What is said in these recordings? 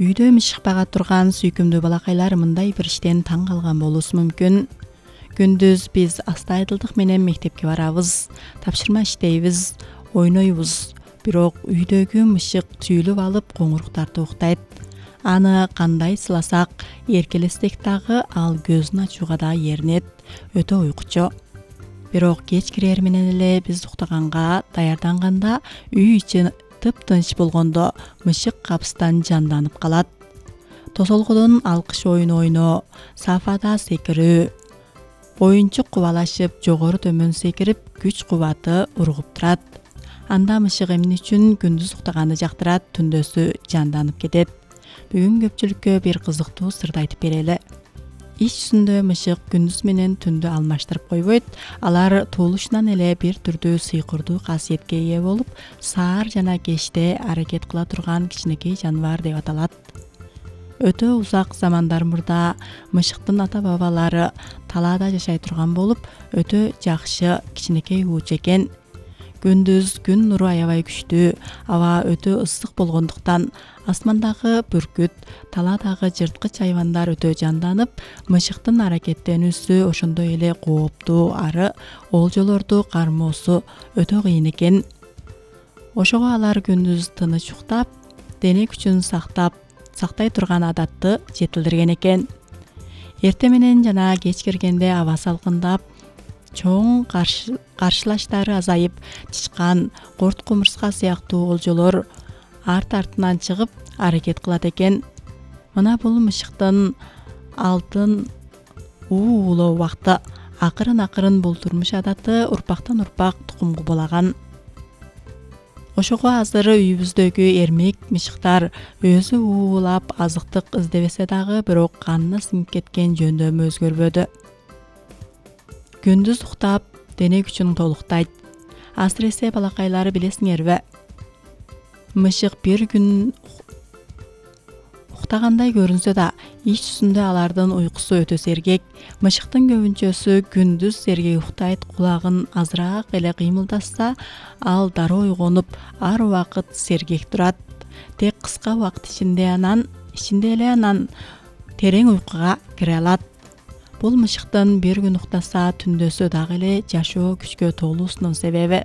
Үйдө мышык бага турган сүйкүмдүү балакайлар мындай бир иштен таң калган болуусу мүмкүн. Күндүз биз астайдылдык менен мектепке барабыз, тапшырма иштейбиз, ойнойбуз. Бирок үйдөгү мышык түйүлүп алып коңуруктарды уктайт. Аны кандай сыласак, эркелесек дагы ал көзүн ачууга да эринет, өтө уйкучу. Бирок кеч кирер менен эле биз уктаганга даярданганда үй ичи тыптынч болгондо мышык капыстан жанданып калат. Тосолгодон алкыш оюну ойноо, сафада секирүү, оюнчук кубалашып жогору төмөн секирип күч кубаты ургуп турат. Анда мышык эмне үчүн күндүз уктаганды жактырат, түндөсү жанданып кетет. Бүгүн көпчүлүккө бир кызыктуу сырды айтып берели. Иш жүзүндө мышык күндүз менен түндү алмаштырып койбойт. Алар туулушунан эле бир түрдүү сыйкырдуу касиетке ээ болуп, саар жана кечте аракет кыла турган кичинекей жаныбар деп аталат. Өтө узак замандар мурда мышыктын ата-бабалары талаада жашай турган болуп, өтө жакшы кичинекей уучу экен. Күндүз күн нуру аябай күчтүү, аба өтө ысык болгондуктан асмандагы бүркүт, талаадагы жырткыч хайвандар өтө жанданып, мышыктын аракеттенүүсү ошондой эле кооптуу ары олжолорду кармоосу өтө кыйын экен. Ошого алар күндүз тыныч уктап, дене күчүн сактай турган адатты жетилдирген экен. Эрте менен жана кеч киргенде аба салкындап, чоң каршылаштары азайып, тышкан, корт кумурска сыяктуу олжолор арт-артынан чыгып аракет кылат экен. Мына бул мышыктын алтын уулоо убакты. Акырын бул турмуш адаты урпактан урпак тукум кубулаган. Ошого азыр үйүбүздөгү эрмек мышыктар өзү уулап азыктык издебесе дагы, бирок канына сиңип кеткен жөндөмү өзгөрбөдү. Күндүз уктап, дене күчүн толуктайт. Асыресе балакайлары билесиңерби? Мышык бир күн уктагандай көрүнсө да, ич жүзүндө алардын уйкусу өтө сергек. Мышыктын көбүнчөсү күндүз сергек уктайт, кулагын азыраак эле кыймылдатса, ал дароо ойгонуп, ар убакыт сергек турат. Тек кыска убакыт ичинде эле анан терең уйкуга кире алат. Бул мышыктын бир күн уктаса, түндөсү дагы эле жашоо күчкө толуусунун себеби.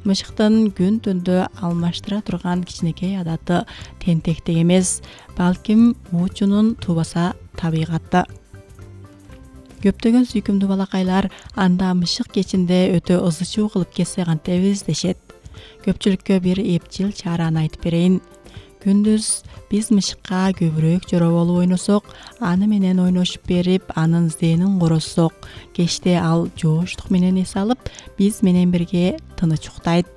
Мышыктын күн түндө алмаштыра турган кичинекей адаты тентектик эмес, балким уучунун туубаса табигаты. Көптөгөн сүйкүмдүү балакайлар анда мышык кечинде өтө ызы чуу кылып кетсе кантебиз дешет. Көпчүлүккө бир эпчил чараны айтып берейин. Күндүз биз мышыкка көбүрөөк жороболуп ойносок, аны менен ойношуп берип, анын зээнин короссок, кечте ал жооштук менен эс алып, биз менен бирге тыныч уктайт.